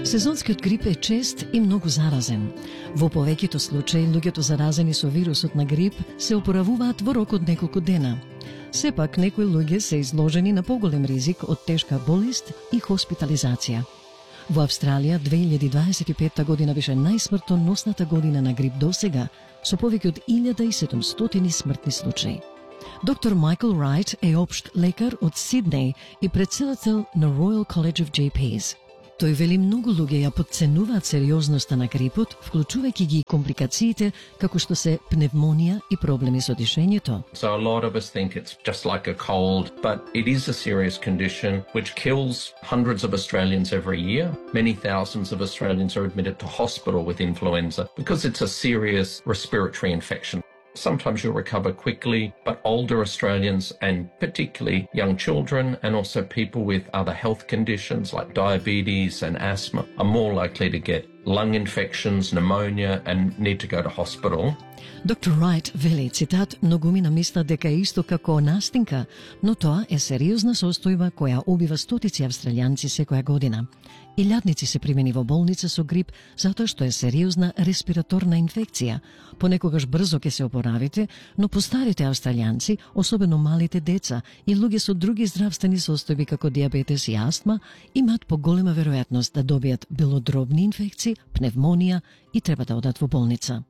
Сезонскиот грип е чест и многу заразен. Во повеќето случаи, луѓето заразени со вирусот на грип се опоравуваат во рок од неколку дена. Сепак, некои луѓе се изложени на поголем ризик од тешка болест и хоспитализација. Во Австралија 2025 година беше најсмртоносната година на грип досега, со повеќе од 1700 смртни случаи. Доктор Майкл Райт е општ лекар од Сиднеј и претседател на Royal College of GPs. Тој вели многу луѓе ја потценуваат сериозноста на грипот, вклучувајќи ги компликациите како што се пневмонија и проблеми со дишењето. So a lot of us think it's just like a cold, but it is a serious condition which kills hundreds of Australians every year. Many thousands of Australians are admitted to hospital with influenza because it's a serious respiratory infection. Sometimes you'll recover quickly, but older Australians and particularly young children and also people with other health conditions like diabetes and asthma are more likely to get lung infections, pneumonia and need to go to hospital. Доктор Райт вели, цитат, многумина мислат дека е исто како настинка, но тоа е сериозна состојба која убива стотици австралијанци секоја година. Илјадници се примени во болница со грип затоа што е сериозна респираторна инфекција. Понекогаш брзо ќе се опоравите, но постарите австралијанци, особено малите деца и луѓе со други здравствени состојби како диабетес и астма, имаат поголема веројатност да добијат белодробни инфекции, пневмонија и треба да одат во болница.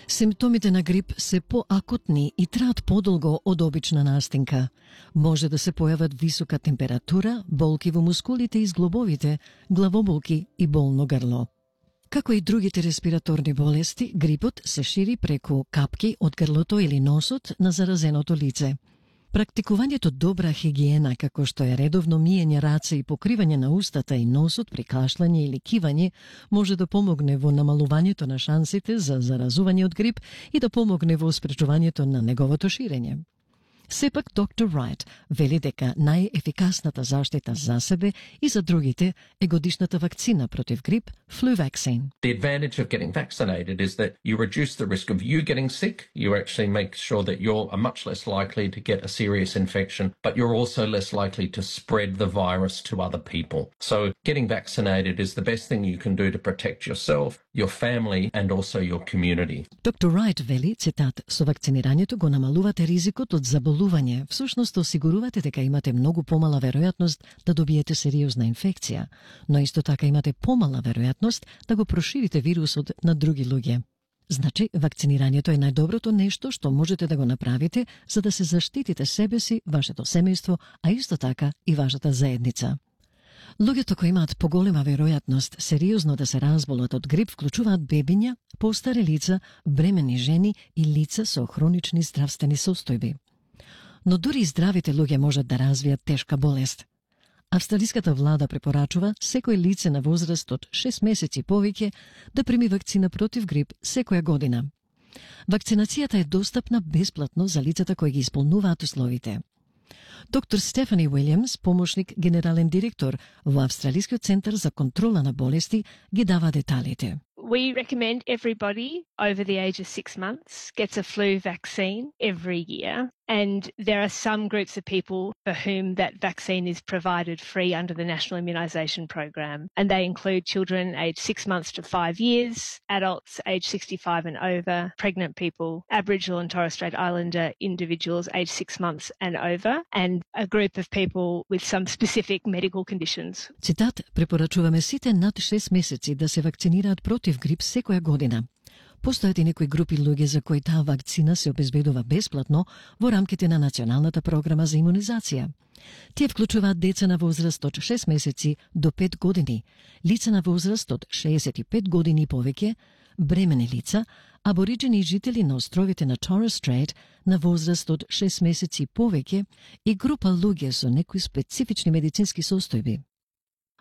Симптомите на грип се поакутни и траат подолго од обична настинка. Може да се појават висока температура, болки во мускулите и зглобовите, главоболки и болно грло. Како и другите респираторни болести, грипот се шири преку капки од грлото или носот на заразеното лице. Практикувањето добра хигиена, како што е редовно миење раце и покривање на устата и носот при кашлање или кивање, може да помогне во намалувањето на шансите за заразување од грип и да помогне во спречувањето на неговото ширење. Сепак, доктор Райт вели дека најефикасната заштита за себе и за другите е годишната вакцина против грип, flu vaccine. The advantage of getting vaccinated is that you reduce the risk of you getting sick. You actually make sure that you're much less likely to get a serious infection, but you're also less likely to spread the virus to other people. So getting vaccinated is the best thing you can do to protect yourself, your family and also your community. Доктор Райт вели, цитат, со вакцинирањето го намалувате ризикот од заболување, всушност осигурувате дека имате многу помала веројатност да добиете сериозна инфекција, но исто така имате помала веројатност да го проширите вирусот на други луѓе. Значи, вакцинирањето е најдоброто нешто што можете да го направите за да се заштитите себе си, вашето семејство, а исто така и вашата заедница. Луѓето кои имаат поголема веројатност сериозно да се разболат од грип вклучуваат бебиња, постари лица, бремени жени и лица со хронични здравствени состојби. Но дури и здравите луѓе можат да развијат тешка болест. Австралиската влада препорачува секој лице на возраст од 6 месеци повеќе да прими вакцина против грип секоја година. Вакцинацијата е достапна бесплатно за лицата кои ги исполнуваат условите. Доктор Стефани Уилјамс, помошник генерален директор во Австралискиот центар за контрола на болести, ги дава деталите. We recommend everybody over the age of 6 months gets a flu vaccine every year. And there are some groups of people for whom that vaccine is provided free under the National Immunisation Program. And they include children aged 6 months to 5 years, adults aged 65 and over, pregnant people, Aboriginal and Torres Strait Islander individuals aged 6 months and over, and a group of people with some specific medical conditions. Цитат, препорачуваме сите над 6 месеци да се вакцинираат против грип секоја година. Постојат и некои групи луѓе за кои таа вакцина се обезбедува бесплатно во рамките на Националната програма за имунизација. Тие вклучуваат деца на возраст од 6 месеци до 5 години, лица на возраст од 65 години и повеќе, бремени лица, абориджени жители на островите на Torres Strait на возраст од 6 месеци и повеќе и група луѓе со некои специфични медицински состојби.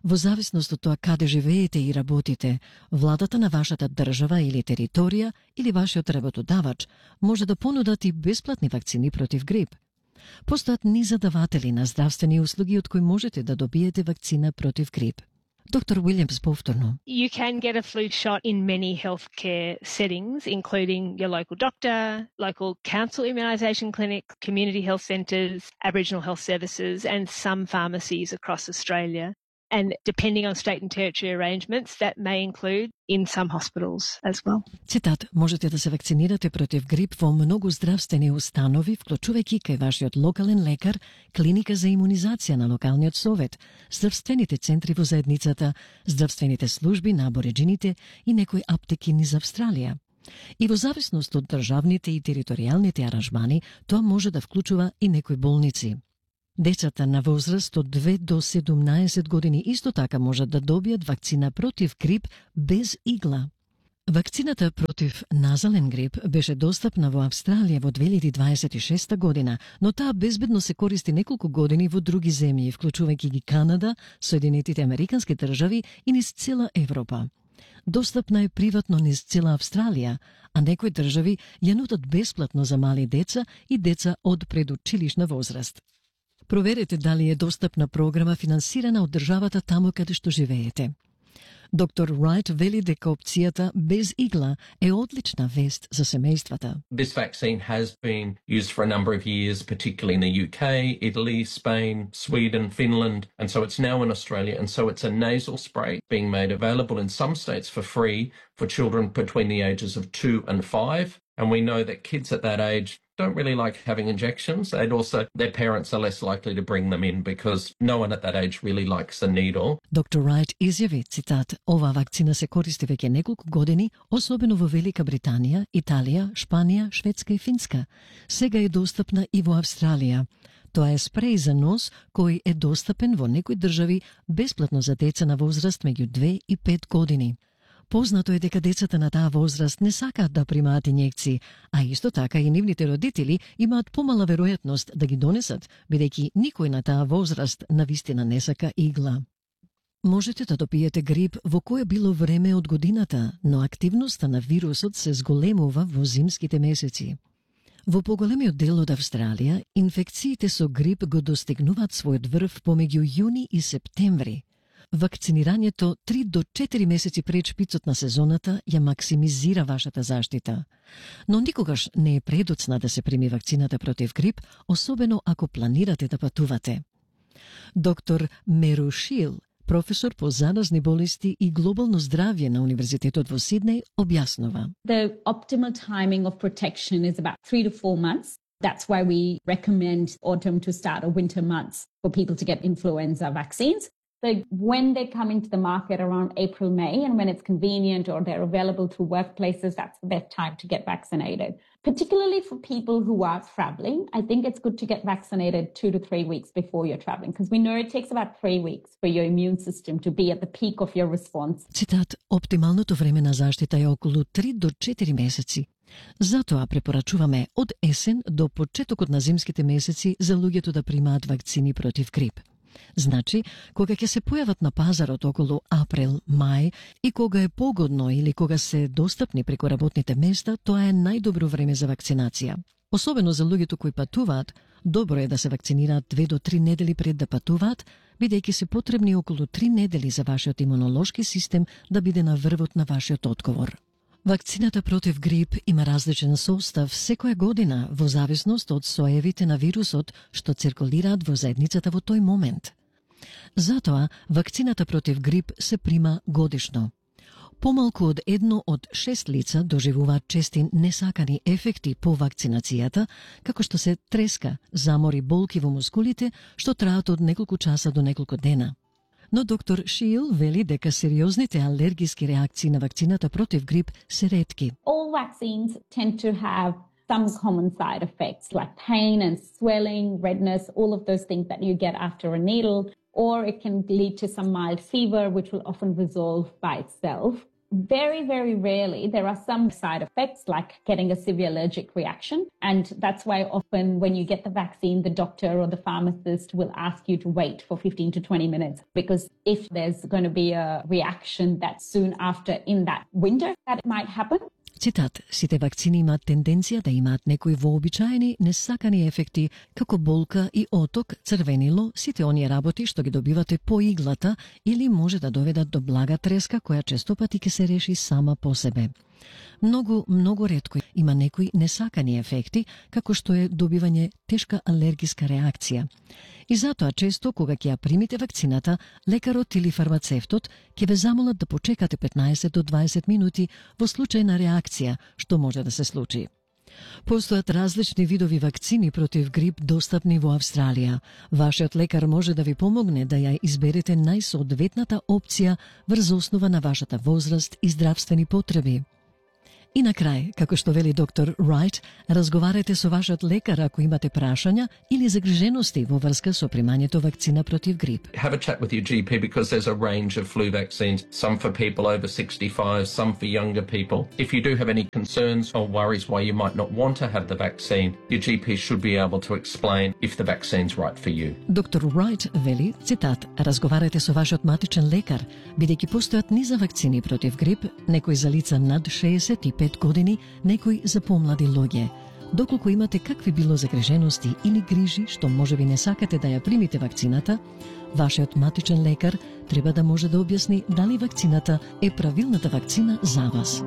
Во зависност од тоа каде живеете и работите, владата на вашата држава или територија или вашиот работодавач може да понудат и бесплатни вакцини против грип. Постојат низадаватели на здравствени услуги од кои можете да добиете вакцина против грип. Доктор Уилјамс повторно. You can get a flu shot in many healthcare settings, including your local doctor, local council immunisation clinic, community health centres, Aboriginal health services and some pharmacies across Australia. And depending on state and territory arrangements, that may include in some hospitals as well. Цитат, можете да се вакцинирате против грип во многу здравствени установи, вклучувајќи кај вашиот локален лекар, клиника за имунизација на локалниот совет, здравствените центри во заедницата, здравствените служби на абориџините и некои аптеки низ Австралија. И во зависност од државните и територијалните аранжмани, тоа може да вклучува и некои болници. Децата на возраст од 2 до 17 години исто така можат да добијат вакцина против грип без игла. Вакцината против назален грип беше достапна во Австралија во 2026 година, но таа безбедно се користи неколку години во други земји, вклучувајќи ги Канада, Соединетите Американски држави и низ цела Европа. Достапна е приватно низ цела Австралија, а некои држави ја нудат бесплатно за мали деца и деца од предучилишна возраст. Проверете дали е достапна програма финансирана од државата таму каде што живеете. Доктор Райт вели дека опцијата без игла е одлична вест за семејствата. This vaccine has been used for a number of years, particularly in the UK, Italy, Spain, Sweden, Finland, and so it's now in Australia. And so it's a nasal spray being made available in some states for free for children between the ages of 2 and 5. And we know that kids at that age don't really like having injections, and also their parents are less likely to bring them in because no one at that age really likes a needle. Доктор Райт изјави, цитат, оваа вакцина се користи веќе неколку години, особено во Велика Британија, Италија, Шпанија, Шведска и Финска. Сега е достапна и во Австралија. Тоа е спреј за нос кој е достапен во некои држави бесплатно за деца на возраст меѓу 2 и 5 години. Познато е дека децата на таа возраст не сакаат да примаат инјекции, а исто така и нивните родители имаат помала веројатност да ги донесат, бидејќи никој на таа возраст навистина не сака игла. Можете да добиете грип во кое било време од годината, но активноста на вирусот се зголемува во зимските месеци. Во поголемиот дел од Австралија, инфекциите со грип го достигнуваат својот врв помеѓу јуни и септември. Вакцинирањето 3 до 4 месеци пред шпицот на сезоната ја максимизира вашата заштита. Но никогаш не е предоцна да се прими вакцината против грип, особено ако планирате да патувате. Доктор Меру Шил, професор по заразни болести и глобално здравје на Универзитетот во Сиднеј, објаснува. The optimal timing of protection is about 3 to 4 months. That's why we recommend autumn to start or winter months for people to get influenza vaccines. So when they come into the market around April, May, and when it's convenient or they're available through workplaces, that's the best time to get vaccinated. Particularly for people who are traveling, I think it's good to get vaccinated 2 to 3 weeks before you're traveling, because we know it takes about 3 weeks for your immune system to be at the peak of your response. Цитат, оптималното време на заштита е околу 3 до 4 месеци. Затоа препорачуваме од есен до почетокот на зимските месеци за луѓето да примаат вакцини против грип. Значи, кога ќе се појават на пазарот околу април, мај и кога е погодно или кога се достапни преку работните места, тоа е најдобро време за вакцинација. Особено за луѓето кои патуваат, добро е да се вакцинираат 2 до 3 недели пред да патуваат, бидејќи се потребни околу 3 недели за вашиот имунолошки систем да биде на врвот на вашиот одговор. Вакцината против грип има различен состав секоја година во зависност од соевите на вирусот што циркулираат во заедницата во тој момент. Затоа, вакцината против грип се прима годишно. Помалку од 1 од 6 лица доживуваат чести несакани ефекти по вакцинацијата, како што се треска, замори, болки во мускулите, што траат од неколку часа до неколку дена. Но доктор Шил вели дека сериозните алергиски реакции на вакцината против грип се ретки. All vaccines tend to have some common side effects like pain and swelling, redness, all of those things that you get after a needle, or it can lead to some mild fever, which will often resolve by itself. Very, very rarely, there are some side effects like getting a severe allergic reaction. And that's why often when you get the vaccine, the doctor or the pharmacist will ask you to wait for 15 to 20 minutes. Because if there's going to be a reaction that soon after in that winter, that it might happen. Цитат, сите вакцини имаат тенденција да имаат некои вообичаени несакани ефекти, како болка и оток, црвенило, сите оние работи што ги добивате по иглата или може да доведат до блага треска која често пати ќе се реши сама по себе. Многу ретко има некои несакани ефекти, како што е добивање тешка алергиска реакција. И затоа често, кога ќе ја примите вакцината, лекарот или фармацевтот ќе ве замолат да почекате 15 до 20 минути во случај на реакција, што може да се случи. Постојат различни видови вакцини против грип достапни во Австралија. Вашиот лекар може да ви помогне да ја изберете најсоодветната опција врз основа на вашата возраст и здравствени потреби. И на крај, како што вели доктор Райт, разговарете со вашиот лекар ако имате прашања или загрижености во врска со примањето вакцина против грип. Have a chat with your GP because there's a range of flu vaccines, some for people over 65, some for younger people. If you do have any concerns or worries why you might not want to have the vaccine, your GP should be able to explain if the vaccine's right for you. Доктор Райт вели, цитат, разговарете со вашиот матичен лекар, бидејќи постојат низа вакцини против грип, некои за лица над 65 години, некои за помлади луѓе. Доколку имате какви било загрижености или грижи што можеби не сакате да ја примите вакцината, вашиот матичен лекар треба да може да објасни дали вакцината е правилната вакцина за вас.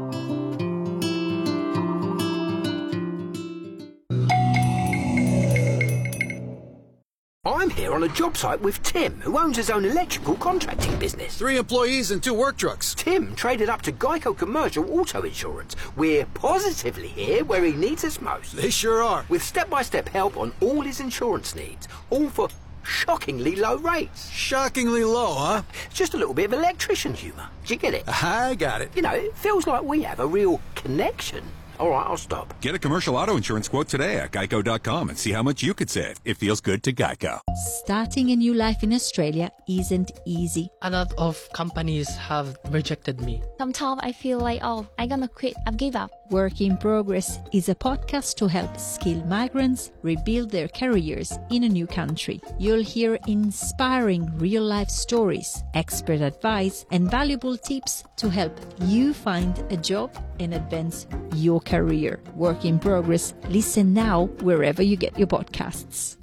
I'm here on a job site with Tim, who owns his own electrical contracting business. 3 employees and 2 work trucks. Tim traded up to Geico Commercial Auto Insurance. We're positively here where he needs us most. They sure are. With step-by-step help on all his insurance needs, all for shockingly low rates. Shockingly low, huh? Just a little bit of electrician humour. Do you get it? I got it. You know, it feels like we have a real connection. All right, I'll stop. Get a commercial auto insurance quote today at geico.com and see how much you could save. It feels good to Geico. Starting a new life in Australia isn't easy. A lot of companies have rejected me. Sometimes I feel like, I'm gonna quit, I've give up. Work in Progress is a podcast to help skilled migrants rebuild their careers in a new country. You'll hear inspiring real-life stories, expert advice, and valuable tips to help you find a job and advance your career. Work in Progress. Listen now wherever you get your podcasts.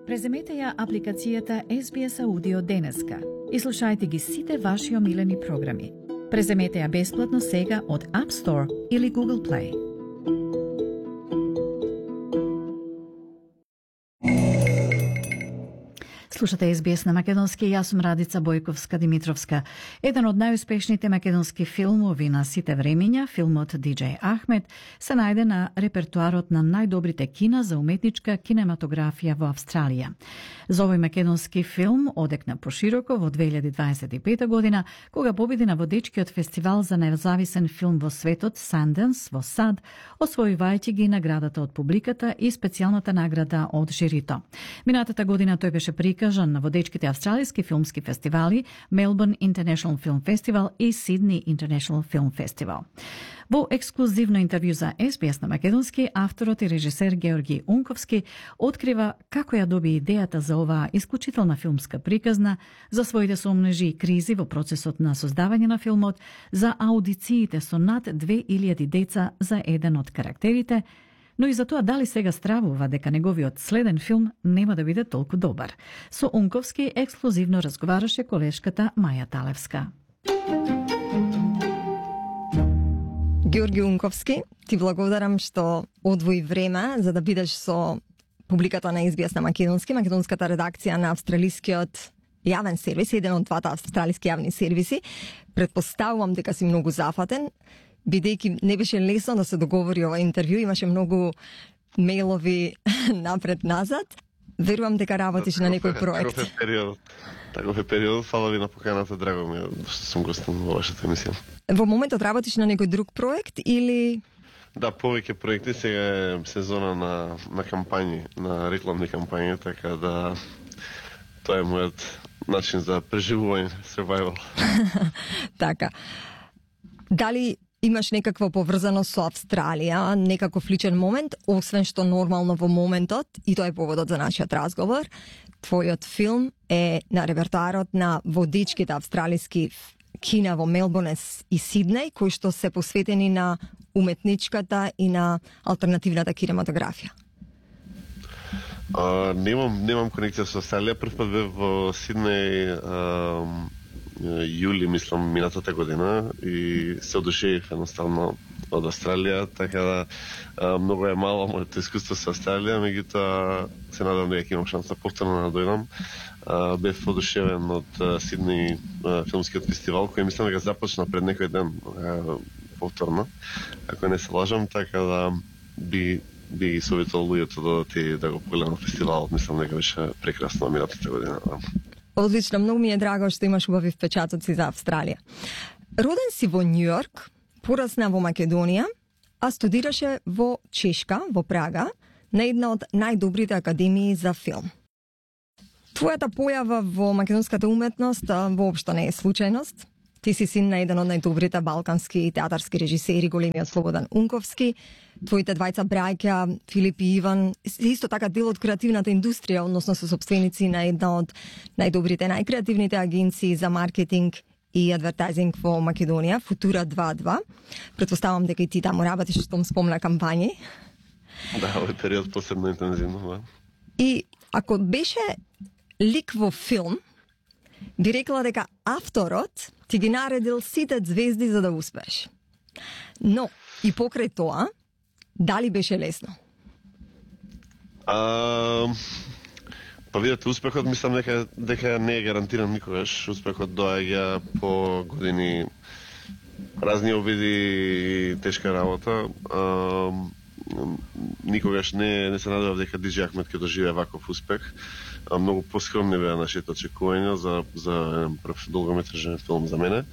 Преземете ја апликацијата SBS Audio денеска и слушајте ги сите ваши омилени програми. Преземете ја бесплатно сега од App Store или Google Play. Слушате SBS на македонски, јас сум Радица Бојковска-Димитровска. Еден од најуспешните македонски филмови на сите времења, филмот DJ Ахмед, се најде на репертуарот на најдобрите кина за уметничка кинематографија во Австралија. За овој македонски филм одекна пошироко во 2025 година, кога победи на водечкиот фестивал за независен филм во светот Sundance во САД, освојувајќи ги наградата од публиката и специјалната награда од жирито. Минатата година тој беше прикажан на водечките австралиски филмски фестивали Melbourne International Film Festival и Sydney International Film Festival. Во ексклузивно интервју за SBS на македонски, авторот и режисер Георги Унковски открива како ја доби идејата за оваа исклучителна филмска приказна, за своите сомнежи и кризи во процесот на создавање на филмот, за аудициите со над 2000 деца за еден од карактерите, но и за тоа дали сега стравува дека неговиот следен филм нема да биде толку добар. Со Унковски ексклузивно разговараше колешката Маја Талевска. Георги Унковски, ти благодарам што одвои време за да бидеш со публиката на SBS на македонски, македонската редакција на австралискиот јавен сервис, еден од двата австралиски јавни сервиси. Предпоставувам дека си многу зафатен, бидејќи не беше лесно да се договори ова интервју, имаше многу мејлови напред-назад. Верувам дека работиш на некој проект. Таков е период, фала ви на поканата, драго ми што сум гостин во вашата емисија. Во моментот работиш на некој друг проект или... Да, повеќе проекти, сега е сезона на кампањи, на рекламни кампањи, така да тоа е мојот начин за преживување, survival. Така. Дали имаш некаква поврзаност со Австралија, некаков личен момент, освен што нормално во моментот, и тоа е поводот за нашиот разговор, твојот филм е на репертуарот на водичките австралиски кина во Мелбурн и Сиднеј, кои што се посветени на уметничката и на алтернативната кинематографија. Немам конекција со Австралија. Прв пат бев во Сиднеј јули, мислам, минатата година и се одушевив едноставно од Австралија, така да многу е мало моето искуство со Австралија, меѓутоа се надам дека имам шанса повторно да дојдам. Бев одушевен од Сидни филмскиот фестивал, кој мислам дека започна пред некој ден повторно, ако не се лажам, така да би советувал луѓето да одат и да го погледнат фестивалот, мислам дека беше прекрасно минатата година. Одлично, многу ми е драго што имаш убави впечатоци за Австралија. Роден си во Њујорк, порасна во Македонија, а студираше во Чешка, во Прага, на една од најдобрите академии за филм. Твојата појава во македонската уметност воопшто не е случајност. Ти си син на еден од најдобрите балкански театарски режисери, големиот Слободан Унковски. Твоите двајца браќа, Филип и Иван, исто така дел од креативната индустрија, односно се сопственици на една од најдобрите, најкреативните агенции за маркетинг и адвертайзинг во Македонија, Футура 2.2. Претпоставам дека и ти таму работиш, што спомна кампањи. Да, овој период посебно интензивно, да. И ако беше лик во филм, би рекла дека авторот ти ги наредил сите звезди за да успееш. Но, и покрај тоа, дали беше лесно? Па видете, успехот мислам дека не е гарантиран никогаш. Успехот доаѓа по години разни обиди и тешка работа. Никогаш не се надевав дека DJ Ахмет ќе доживее ваков успех. Многу поскромни беа нашите очекувања за прв долгометражен филм за мене.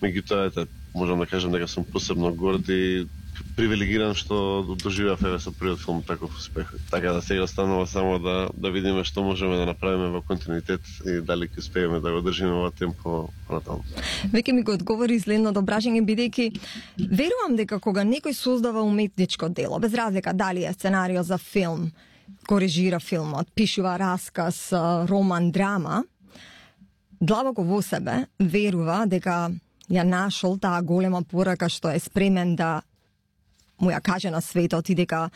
Меѓутоа, можам да кажам дека сум посебно горд и привилегиран што доживеав со првиот филм таков успех. Така да сега останува само да видиме што можеме да направиме во континуитет и дали ќе успееме да го држиме ова темпо натаму. Веќе ми го одговори следното прашање, бидејќи верувам дека кога некој создава уметничко дело, без разлика дали е сценарио за филм, го режира филмот, пишува расказ, роман, драма, длабоко во себе верува дека ја нашол таа голема порака што е спремен да му ја каже на светот и дека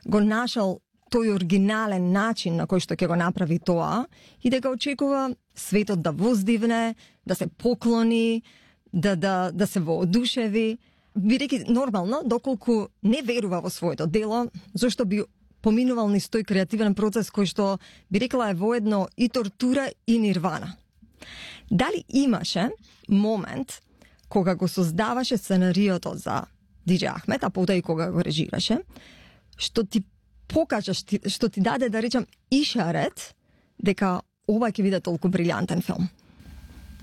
го нашол тој оригинален начин на кој што ќе го направи тоа и дека очекува светот да воздивне, да се поклони, да се воодушеви. Бидејќи нормално, доколку не верува во своето дело, зашто би поминувал низ тој креативен процес кој што би рекла е воедно и тортура и нирвана. Дали имаше момент кога го создаваше сценариото за DJ Ахмет, а потоа и кога го режираше, што ти покажа, што ти даде, да речам, ишарет дека ова ќе биде толку брилјантен филм?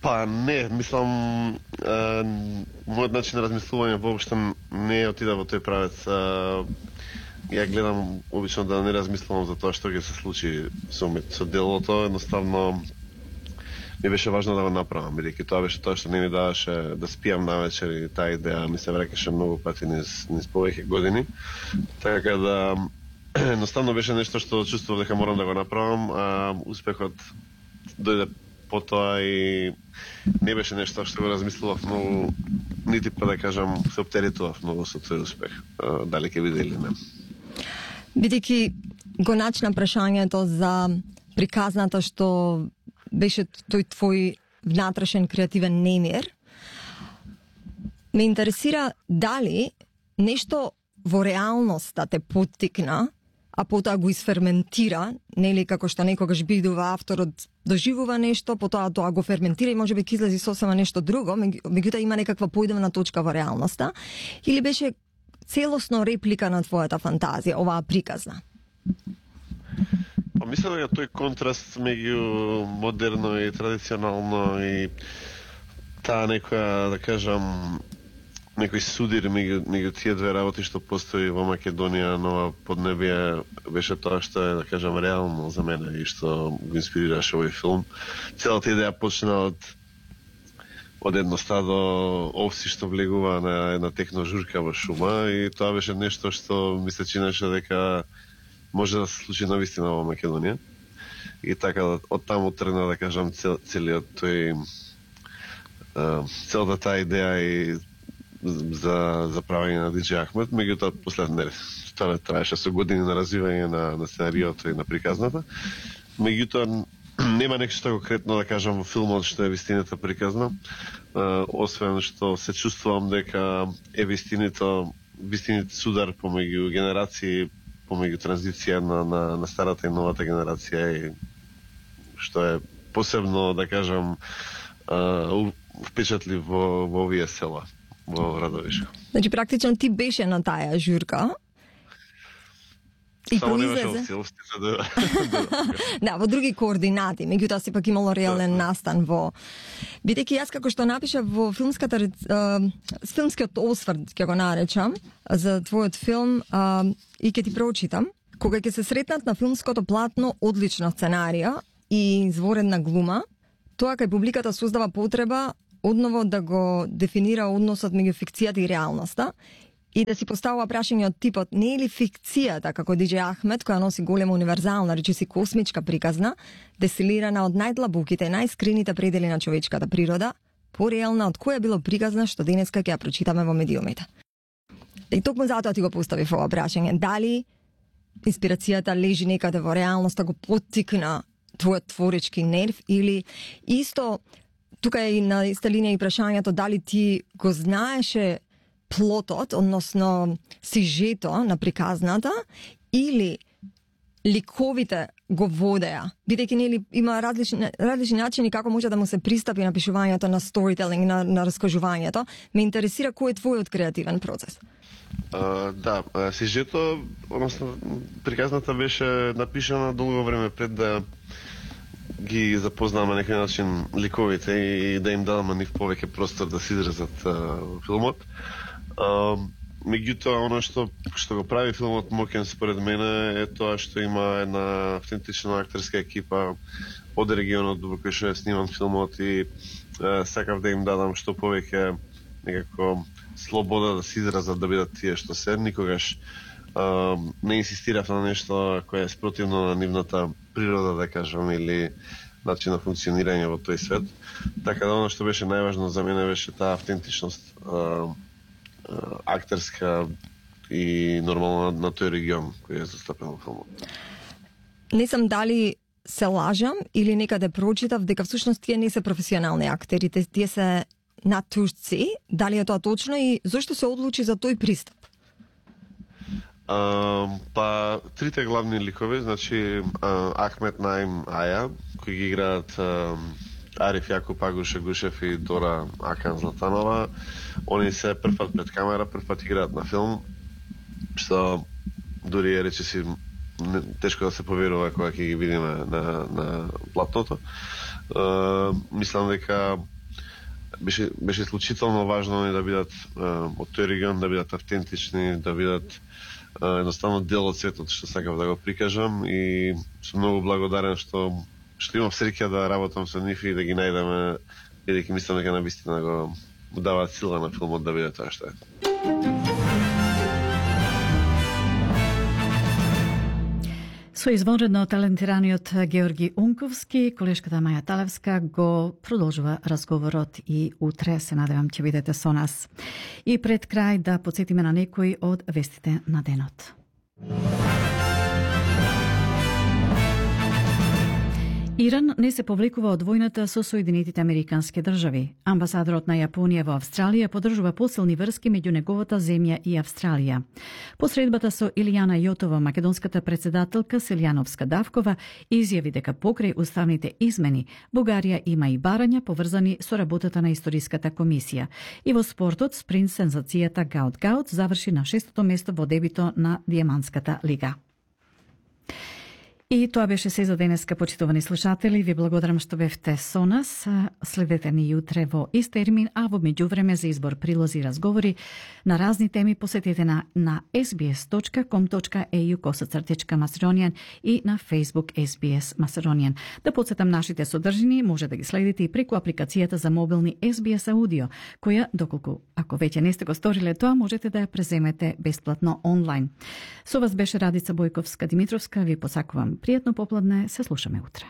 Па не, мислам, мојот начин на размислување воопшто не отида во тој правец. Ја гледам обично да не размислувам за тоа што ќе се случи со делото, едноставно ми беше важно да го направам, бидејќи тоа беше тоа што не ми даваше да спијам навечер и таа идеја ми се враќаше многу пати низ повеќе години. Така да едноставно беше нешто што чувствував дека морам да го направам, а успехот дојде потоа и не беше нешто што го размислував многу, нити па да кажам се оптеретував многу со тој успех, дали ќе биде или не. Бидејќи го начина прашањето за приказната што беше тој твој внатрешен креативен немир, ме интересира дали нешто во реалноста те поттикна, а потоа го изферментира, нели како што некогаш бидува авторот доживува нешто, потоа тоа го ферментира и можеби ќе излези сосема нешто друго, меѓутоа има некаква поидовна точка во реалноста, или беше целосно реплика на твојата фантазија, оваа приказна? Па мислам дека тој контраст меѓу модерно и традиционално и таа некоја, да кажам, некој судир меѓу тие две работи што постои во Македонија, нова поднебие, беше тоа што е, да кажам, реално за мене и што го инспирираше овој филм. Целата идеја почна од едно стадо овси што влегува на една техно журка во шума и тоа беше нешто што ми се чинеше дека може да се случи навистина во Македонија. И така од таму тргна, да кажам, целиот тој целата таа идеја и за правење на DJ Ахмет, меѓутоа после тоа траеше со години на развивање на сценариото и на приказната. Меѓутоа нема нешто конкретно да кажам во филмот што е вистината приказна, освен што се чувствувам дека е вистините судар помеѓу генерации, помеѓу транзиција на старата и новата генерација, и што е посебно, да кажам, впечатлив во овие села, во Радовишко. Значи, практично ти беше на таа журка. И Само не произлезе... беше целостите да... Да, во други координати, меѓутоа сепак имало реален настан во... Бидејќи јас како што напишав во филмскиот осврт, ќе го наречам, за твојот филм, и ќе ти прочитам, кога ќе се сретнат на филмското платно одлична сценарија и изворедна глума, тоа кај публиката создава потреба одново да го дефинира односот меѓу фикцијата и реалноста и да си поставува прашање од типот не е ли фикцијата како DJ Ахмед, која носи голема универзална, речиси космичка приказна, дестилирана од најдлабоките и најскрините предели на човечката природа, пореална од која било приказна што денеска ќе ја прочитаме во медиумите. И токму затоа ти го поставив ова прашање. Дали инспирацијата лежи некаде во реалноста, го поттикна твојот творечки нерв, или исто, тука е и на иста линија и прашањето дали ти го знаеше плотот, односно сижето на приказната, или ликовите го водеа, бидејќи нели има различни начини како може да му се пристапи на пишувањето, на сторителинг, на раскажувањето. Ме интересира кој е твојот креативен процес. Да, сижето, односно приказната беше напишана долго време пред да ги запознаваме на некој начин ликовите и да им дадаме нив повеќе простор да се изразат во филмот. Меѓутоа, оно што го прави филмот моќен според мене е тоа што има една автентична актерска екипа од регионот во кој што е сниман филмот и сакав да им дадам што повеќе некако слобода да се изразат, да бидат тие што се. Никогаш не инсистирав на нешто кое е спротивно на нивната природа, да кажам, или начин на функционирање во тој свет. Така да, оно што беше најважно за мене беше таа автентичност актерска и нормално на тој регион кој е застапен во филмот. Не знам дали се лажам или некаде прочитав дека всушност тие не се професионални актери, тие се натурци. Дали е тоа точно и зошто се одлучи за тој пристап? Па, трите главни ликови, значи Ахмед, Наим, Аја, кои ги играат Ариф Јакуп, Агуше Гушев и Дора Акан Златанова. Они се првпат пред камера, првпат играат на филм, што дури е речиси тешко да се поверува кога ќе ги видиме на платното. Мислам дека беше случително важно да бидат од тој регион, да бидат автентични, да бидат едноставно дел од светот, што сакав да го прикажам, и сум многу благодарен што имам среќа да работам со нив и да ги најдеме, бидејќи мислам дека навистина го даваат сила на филмот да биде тоа што е. Со извонредно талентираниот Георги Унковски, колешката Маја Талевска го продолжува разговорот и утре се надевам ќе бидете со нас. И пред крај да потсетиме на некои од вестите на денот. Иран не се повлекува од војната со Соединетите Американски држави. Амбасадорот на Јапонија во Австралија поддржува посилни врски меѓу неговата земја и Австралија. Посредбата со Илијана Јотова, македонската председателка Селјановска-Давкова изјави дека покрај уставните измени Бугарија има и барања поврзани со работата на историската комисија. И во спортот спринт сензацијата Гаут заврши на 6-то место во дебито на Дијамантската лига. И тоа беше се за денеска, почитувани слушатели. Ви благодарам што бевте со нас. Следете ни утре во ист термин, а во меѓувреме за избор прилози и разговори на разни теми посетете на sbs.com.au/Macedonian и на Facebook SBS Macedonian. Да подсетам нашите содржини, може да ги следите и преку апликацијата за мобилни SBS Audio, која, доколку ако веќе не сте го сториле тоа, можете да ја преземете бесплатно онлайн. Со вас беше Радица Бојковска-Димитровска. Ви посакувам пријатно попладне, се слушаме утре.